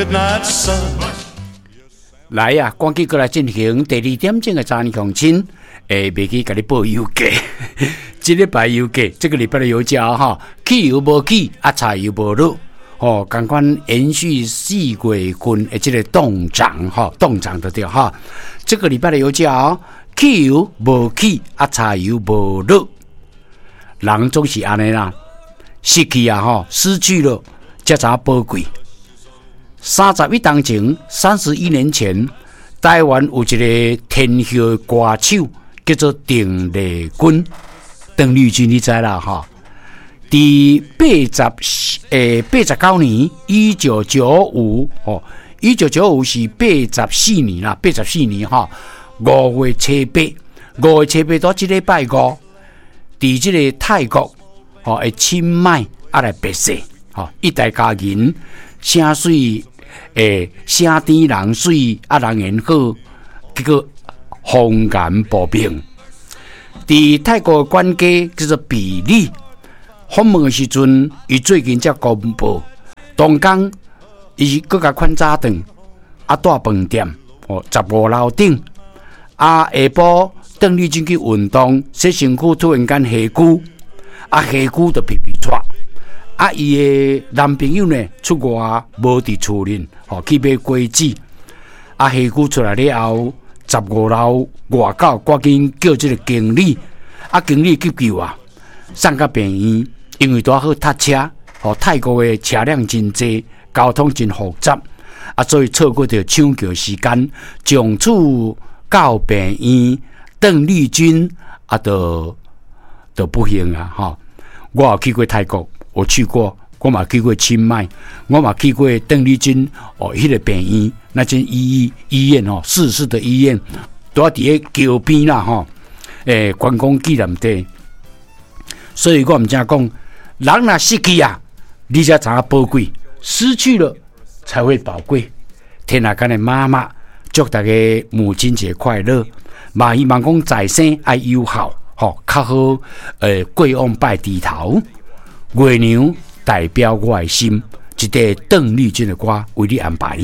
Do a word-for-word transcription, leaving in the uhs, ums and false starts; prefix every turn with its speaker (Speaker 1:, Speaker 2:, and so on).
Speaker 1: Midnight sun.
Speaker 2: 來啊，趕緊過來進行第二點鐘的早安鄉親，會袂記共你報油價。這禮拜油價，這個禮拜的油價哈，汽油無起，啊柴油無落，吼，仝款延續四月份的這個凍漲，吼，凍漲就對哈。這個禮拜的油價，汽油無起，啊柴油無落，人總是按呢啦，失去啊，吼，失去了才知影寶貴。三十一冬前，三十一年前，台灣有一個天后歌手叫做鄧麗君，鄧麗君你知啦吼？佇八十欸八十九年，一九九五吼，一九九五是八十四年啦，八十四年吼，五月初八，五月初八到這禮拜五，佇這個泰國吼的清邁啊來別逝，吼，一代佳人，聲水。欸，聲甜人媠，啊人緣好，結果風雲暴變。佇泰國管家叫做比利訪問的時陣，伊最近才公布，當工伊閣共款早頓，啊蹛飯店哦，十五樓頂，啊下晡鄧麗君去運動，洗身軀，突然間下龜，啊下龜就皮皮掣。啊！伊的男朋友呢出外無佇厝裡，吼去買果子。啊，下龜出來了後，十五樓外口趕緊叫這個經理，啊，經理急救啊，送到病院，因為拄好塞車，吼泰國的車輛真濟，交通真複雜，啊，所以錯過著搶救時間，從此到病院，鄧麗君啊，就就不幸啊，吼！我有去過泰國。我去過，我嘛去過清邁，我嘛去過鄧麗君哦，彼個病院，那間醫醫院哦，逝世的醫院，拄仔佇咧橋邊啦吼，欸，觀光紀念地。所以我毋正講，人若失去啊，你才知影寶貴，失去了才會寶貴。天下間的媽媽，祝大家母親節快樂，嘛希望講在生愛有孝，吼，較好，欸，過往拜低頭。月娘代表我的心，這塊鄧麗君的歌為你安排。